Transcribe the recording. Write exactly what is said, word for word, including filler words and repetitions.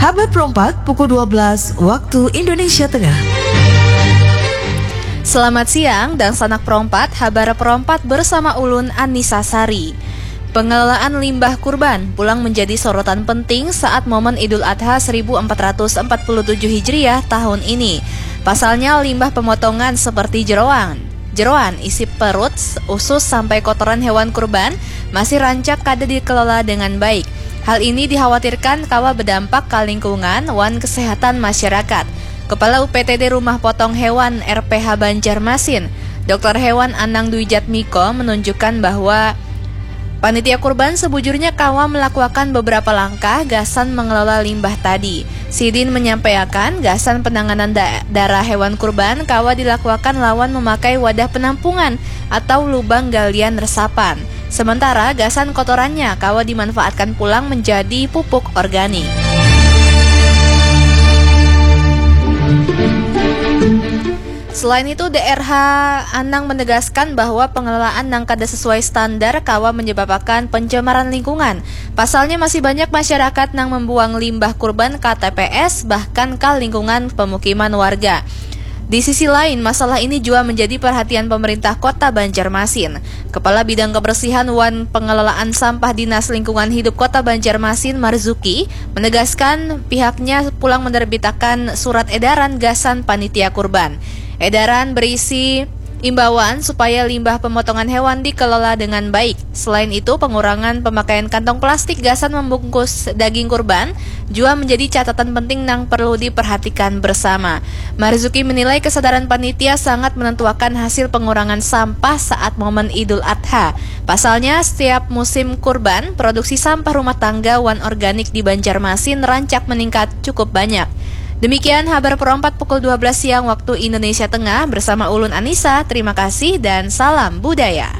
Habar Perompak pukul dua belas waktu Indonesia Tengah. Selamat siang, dangsanak Perompak, Habar Perompak bersama ulun Anissa Sari. Pengelolaan limbah kurban pulang menjadi sorotan penting saat momen Idul Adha seribu empat ratus empat puluh tujuh Hijriah tahun ini. Pasalnya limbah pemotongan seperti jeroan, jeroan isi perut, usus sampai kotoran hewan kurban masih rancak kada dikelola dengan baik. Hal ini dikhawatirkan kawa berdampak ke lingkungan wan kesehatan masyarakat. Kepala U P T D Rumah Potong Hewan R P H Banjarmasin, Doktor Hewan Anang Dwi Jatmiko menunjukkan bahwa panitia kurban sebujurnya kawa melakukan beberapa langkah gasan mengelola limbah tadi. Sidin menyampaikan gasan penanganan da- darah hewan kurban kawa dilakukan lawan memakai wadah penampungan atau lubang galian resapan. Sementara gasan kotorannya kawa dimanfaatkan pulang menjadi pupuk organik. Selain itu, D R H Anang menegaskan bahwa pengelolaan nang kada sesuai standar kawa menyebabkan pencemaran lingkungan. Pasalnya masih banyak masyarakat nang membuang limbah kurban ke T P S bahkan ke lingkungan pemukiman warga. Di sisi lain, masalah ini juga menjadi perhatian pemerintah Kota Banjarmasin. Kepala Bidang Kebersihan wan Pengelolaan Sampah Dinas Lingkungan Hidup Kota Banjarmasin, Marzuki, menegaskan pihaknya pulang menerbitakan surat edaran gasan panitia kurban. Edaran berisi imbauan supaya limbah pemotongan hewan dikelola dengan baik. Selain itu, pengurangan pemakaian kantong plastik gasan membungkus daging kurban juga menjadi catatan penting nang perlu diperhatikan bersama. Marzuki menilai kesadaran panitia sangat menentuakan hasil pengurangan sampah saat momen Idul Adha. Pasalnya, setiap musim kurban, produksi sampah rumah tangga wan organik di Banjarmasin rancak meningkat cukup banyak. Demikian Habar Perompak pukul dua belas siang waktu Indonesia Tengah bersama ulun Anissa. Terima kasih dan salam budaya.